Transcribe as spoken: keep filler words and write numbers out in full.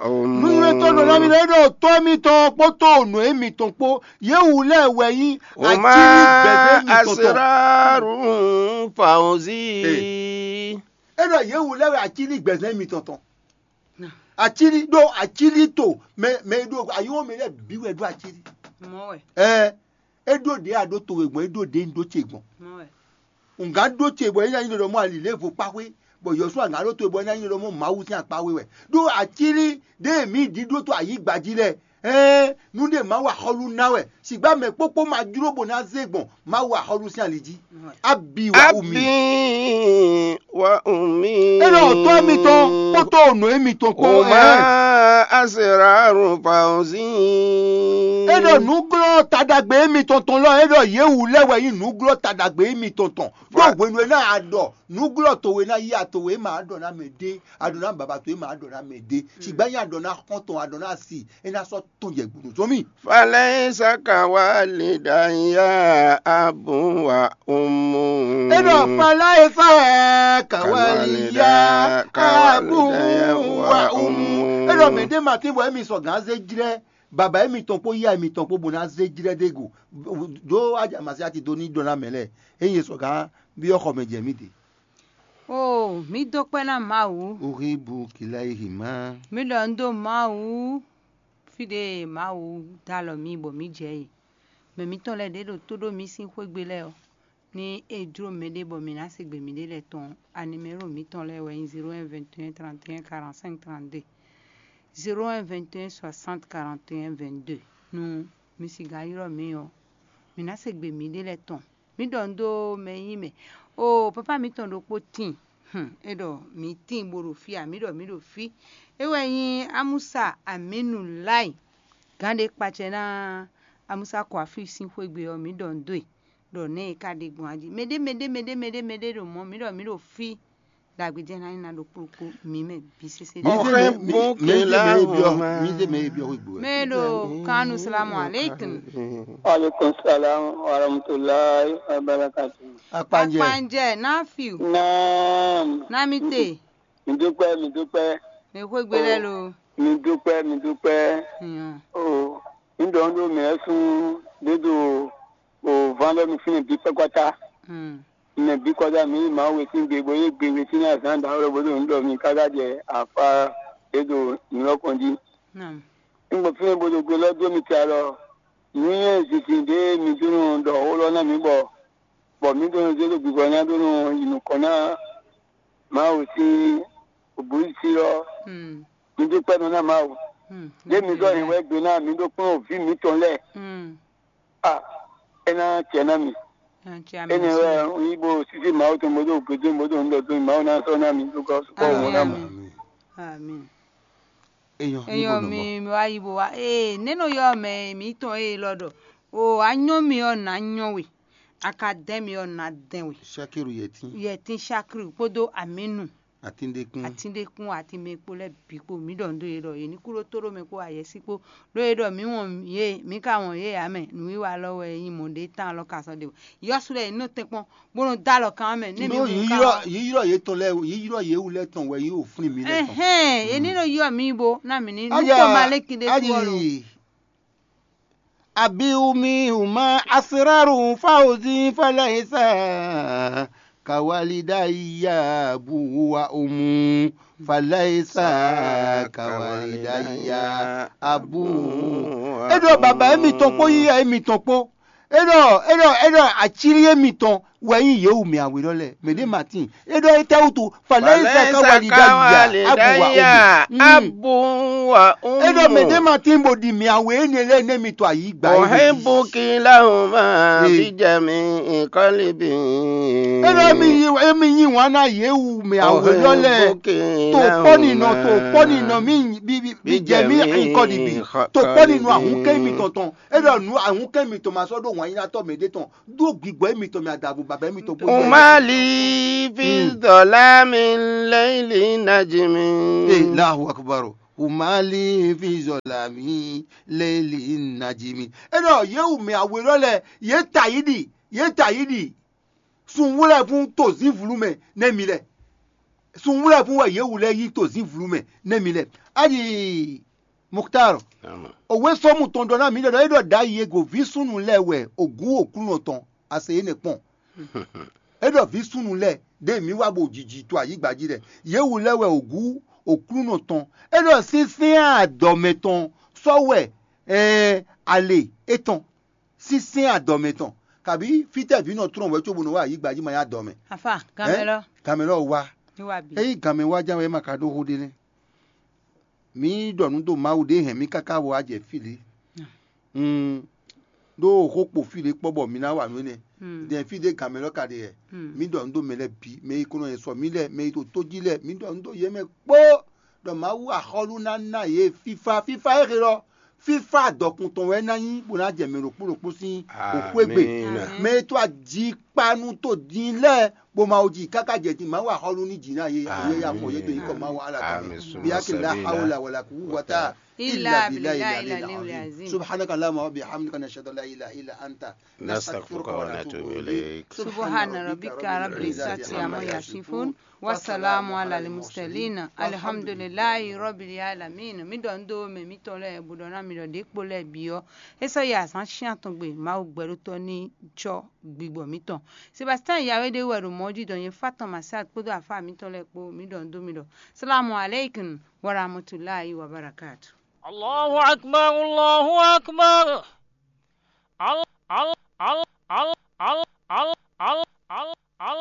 Nǔnywɛ́tɔ́ ɖɔ ná mi lɛ́ɛ ɖɔ tɔ́ mitɔn kpódó nǔ e mitɔn kpó, yě wú lɛ́ɛ wɛ nyí akíní gbɛzɛ́ mitɔn tɔn. Ee. É ɖɔ yě wú lɛ́ɛ wɛ akíní gbɛzɛ́ mitɔn tɔn. Acílí ɖó acílí to mɛ mɛ e ɖo ayɔ́ mɛ lɛ́ɛ bǐ wɛ ɖó acílí. Mɔ̌ wɛ. Ɛɛ, é ɖó ɖě a ɖó towe gbɔn, é ɖó ɖě un ɖó ce gbɔn. Mɔ̌ wɛ. Un gǎn ɖó ce bɔ é ná nyí ɖɔ mɔ ali lě vo kpáxwé, bɔ Yɔsuwa gǎn ɖó towe bɔ é ná nyí ɖɔ mɔ Mawu sín akpáxwé wɛ. Ɖó acílí ɖé mǐ ɖi ɖó to ayǐgba jí lɛ́ɛ, ɛɛ, nú ɖé Mawu axɔ́lú ná wɛ, sǐgbá mɛ kpókpó ma jló bó ná zé gbɔn Mawu axɔ́lú sín ali jí. Abi wa umi. Abi wa umi. É ɖɔ tɔ́ mitɔn kpódó nǔ émitɔn kpó. Huma asraru fawzi. É ɖɔ nǔglɔ́ taɖagbe émitɔn tɔn lɔ, é ɖɔ yě wú lɛ́ wɛ nyí nǔglɔ́ taɖagbe émitɔn tɔn. Ɖó hwenu e ná a ɖɔ nǔglɔ́ towe ná yí atowe é ma ɖɔ ná mɛ ɖé, a ɖɔ ná baba towe é ma ɖɔ ná mɛ ɖé. Sǐgbá nyí a ɖɔ ná xɔ́ntɔn, a ɖɔ ná si, é ná sɔ́ tɔn jɛ gbunu zɔn mì. Falaisa kawalidaya abu wa umu. É ɖɔ falaisa kawaliya abu wa umu. É ɖɔ mɛ ɖé ma tín bɔ émi sɔ gǎn zé jlɛ́ baba émitɔn kpó yá émitɔn kpó bó ná zé jlɛ́ ɖé go. Ɖó aja masiati dó ní ɖɔ ná mɛ lɛ́ɛ. Ényí e sɔ gǎn byɔ́ xɔ mɛ jɛ mì ɖe. Oo, mǐ dó kpɛ́ ná Mawu. Uhibu kilaihima. Mi ɖɔ un dó Mawu. Fí ɖé e Mawu dó alɔ mì bɔ mǐ jɛ e, mɛ mǐtɔn lɛ́ɛ ɖě ɖo tó ɖó mǐ sín xwé gbe lɛ́ɛ ɔ́, ní é jló mɛɖé bɔ mǐ ná se gbe mǐɖée lɛ́ɛ tɔn ɔ́, animɛlo mǐtɔn lɛ́ɛ wɛ nyí zéro un vingt et un trente et un quarante-cinq trente-deux, zéro un vingt et un soixante quarante et un vingt-deux. Nú mi sixá ylɔ́ mǐ ɔ́, mǐ ná se gbe mǐɖée lɛ́ɛ tɔn. Mǐ ɖɔ un ɖó mɛ e nyí mɛ. Oo, papá mǐtɔn ɖokpó tíin. Hm, é ɖɔ mǐ tíin bó ɖo fí ǎ, mǐ ɖɔ mǐ ɖo fí. É wɛ nyí Amusa Aminu Lai. Gǎn ɖé kpacɛ ná Amusa Kwafi sín xwé gbe ɔ́, mǐ ɖɔ un dó e, ɖɔ nɛ̌ e ka ɖe gbɔn a jí. Mɛɖé mɛɖé mɛɖé mɛɖé mɛɖé ɖo mɔ̌, mǐ ɖɔ mǐ ɖo fí. Ɖagbe jɛ ná nyí ná ɖokpó ɖokpó mǐ mɛ bǐ sésé. Mǐ zé mɛ mǐ zé mɛ e byɔ́ mǐ zé mɛ e byɔ́ xwé gbe wɛ. Mɛ ɖo kanu salamu aleykum. Aleykum salam wa rahmatulahi wa barakatu. Akpanjɛ. Akpanjɛ, nafiu. Naam. Namite. Mi dúpẹ́, mi dúpẹ́. Mi xwé gbe lɛ lo. Mi dúpẹ́, mi dúpẹ́. Yan. O, mi dɔn ɖó mɛ sún dédò o van lɛ mi fún mi bí pɛkɔta. Hmm. Mɛ bí kɔjá mi Mawu wětín gbe bó yí gbe wětín ní azǎn dǎwe lɔ bó ɖo nǔ ɖɔ mi káká jɛ afá e ɖo nǔ lɔ kɔn jí. Naam. Un gbɔ fínɛ́ bó ɖo gbe lɔ dó mi te alɔ. Nǔnywɛ́ zinzin ɖé mi dó nɔ ɖɔ xó lɔ ná mǐ bɔ bɔ mǐ ɖó nɔ zé ɖo gbǐgbɔ ná ɖó nɔ yi nukɔn ná Mawu sín bǔyísí ɔ́. Hmm. Mi dó kpɛ́ nɔ ná Mawu. Hmm. Ɖé mi zɔ yě wɛ gbe ná mi ɖó kplɔ́n vǐ mǐtɔn lɛ́ɛ. Hmm. A, é ná acɛ ná mi. Acɛ. Énɛ́ wɛ un yí bó sísí Mawu tɔn bó dó gbe dó bó dó un ɖɔ dó Mawu ná sɔ́ ná mi dó gɔ́ sukpɔ́ ɔ́ ná mɔ. Amin. Amin. Eyɔn, eyɔn mi mi wá yí bó wá. Ee, nɛ́ nɔ yɔ mɛ mǐtɔn ee lɔ ɖɔ. O, a nyɔ́ mi ɔ́ nǎ nyɔ́ we. A ka dɛn mi ɔ́ nǎ dɛn we. Sakiru yɛtín. Yɛtín Sakiru kpódó Aminu. Atíndékún. Atíndékún, atín mɛ kpó lɛ́ɛ bǐ kpó mǐ ɖɔ nǔ dó yě ɖɔ yě ní kú ɖó tó ɖó mɛ kpó ayɛsí kpó. Ɖó é ɖɔ mǐ wɔn yě, mǐ ka wɔn yě ǎ mɛ, nǔwiwa lɔ wɛ nyí mɔ̌ ɖé tán alɔ ka sɔ́ ɖe o. Yɔ́sú lɛ́ɛ yě nɔ tɛ́nkpɔ́n, bó nɔ dó alɔ kan mɛ, nɛ́ mǐ Ɖó mǐ yí ka ylɔ́ yí ylɔ́ yě tɔn lɛ́ɛ yí ylɔ́ yě wú lɛ́ɛ tɔn wɛ yí wǒ flín mǐ lɛ́ɛ tɔn. Ɛhɛn, yě ní nɔ ylɔ́ mǐ bo ná mǐ ní nú Ájá, kpɔ́n ma lɛ́ kí ɖé ájì, kú ɔ́ lo. Abiwumi huma asraru fawzi falaisa kawalidaya abu wa umu falaisa kawalidaya abu. É ɖɔ baba émitɔn kpó yíyá émitɔn kpó. É ɖɔ é ɖɔ é ɖɔ acílí émitɔn wɛ nyí yě wu mɛ awe lɔ lɛ. Mɛ ɖé ma tíin. É ɖɔ étɛ́ wútu falaisa kawalidaya abu wa umu. Abu wa umu. É ɖɔ mɛ ɖé ma tín bó ɖi mì awe énɛ́ lɛ́ɛ nɛ́ mi to ayǐ gba é ɖo. Ohebuki lahuma bijami kɔlibi. É ɖɔ émi yí émi yí wǎn ná yě wu mɛ awe lɔ lɛ. To kpɔ́ ninɔ to kpɔ́ ninɔ mì bi bi bi jɛ mì nkɔlibi. To kpɔ́ ninɔ ahun kɛ mi tɔn tɔn. É ɖɔ nǔ ahun kɛ mi tɔn ma sɔ́ ɖó wǎn yíyá tɔ́ mɛ ɖé tɔn. Ɖó gbigbɔ émitɔn mì adǎvo baba émitɔn kpó. Umali fi zɔlami lɛyili najimi. Ee, Allahu Akbar. Umali fi zɔlami lɛyili najimi. É ɖɔ yě wu mɛ awe lɔ lɛ, yě ta yi ɖi, yě ta yi ɖi. Sun wlɛ́ fún tozínvlú mɛ nɛ́ mi lɛ. Sunwlɛ́vú wɛ yě wu lɛ́ɛ nyí tozínvlu mɛ nɛ́ mi lɛ́ɛ. Ayi Muktar, òwe sɔ́mu tɔn ɖɔ ná mǐ ɖɔ ɖɔ é ɖɔ ɖ'ayǐ e go vǐ súnnu lɛ́ɛ wɛ ògún Oklúnɔ tɔn, a se énɛ́ kpɔ́n. É ɖɔ vǐ súnnu lɛ́ɛ ɖěe mǐ wá bo jiji to ayǐgba jí lɛ́ɛ, yě wu lɛ́ɛ wɛ ògún Oklúnɔ tɔn. É ɖɔ sínsɛ́n adɔmɛ tɔn sɔ́ wɛ ɛɛ ale étɔn, sínsɛ́n adɔmɛ tɔn, kabǐ fítɛ́ vǐ nɔ tlɔ́n wɛ cóbó nɔ wá ayǐgba jí ma nyí adɔmɛ. Afa, ganmɛ lɔ. Ganmɛ lɔ wá. Ní wá bí. Ényí ganmɛ wá ján wɛ é ma ka ɖó xó ɖé nɛ́. Mǐ ɖɔ nǔ dó Mawu ɖě hɛn mì káká bɔ wá jɛ fí lě. Un ɖó xó kpo fí lě kpɔ́ bɔ mi ná wa nǔ énɛ́. Dɛn fí ɖé gan mɛ lɔ ka ɖe wɛ. Mǐ ɖɔ nǔ dó mɛ lɛ́ɛ bǐ, mɛ e ko nɔ nyi sɔ mǐ lɛ́ɛ, mɛ e to tó jí lɛ́ɛ, mǐ ɖɔ nǔ dó yě mɛ kpó, ɖɔ Mawu axɔ́lú ná ná yě fífá. Fífá e xe lɔ, fífá adɔkun tɔn wɛ ná nyí bó ná jɛ mɛ ɖokpó ɖokpó sín xwégbe. Mɛ e tó ajikpanu tó din lɛ́ɛ bó Mawu jí káká jɛ din, Mawu axɔ́lú ní jǐ ná yě, yě ya fɔ yě dó nyǐkɔ Mawu ala tɔn mɛ. Bíyá kí la hawla wala kú wata illa billahi al-aliyyil azim. Subhanaka Allahumma wa bihamdika, nashhadu an la ilaha illa anta, nastaghfiruka wa natubu ilayk. Subhana rabbika rabbil izzati amma yasifun. Wasalamu ala al-mursalin. Alhamdulillahi rabbil alamin. Mí ɖɔ nú dó mɛ mítɔn lɛ́ɛ bó ɖɔ ná mi ɖɔ ɖě kpo lɛ́ɛ bǐ ɔ́, é sɔ́ yi azǎn cyán tɔn gbe Mawu gbɛɖótɔ́ ní cɔ́ gbigbɔ mǐtɔn. Sebastien Yawéɖé wɛ ɖo mɔ̌ jí ɖɔ nyɛ fá tɔn Masat kpódó afá mǐtɔn lɛ́ɛ kpó, mǐ ɖɔ nú dó mi ɖɔ salamu aleykum wa rahmatulahi wa barakatu. Allahu akbar, Allahu akbar. Al, al, al, al, al, al, al, al, al, al.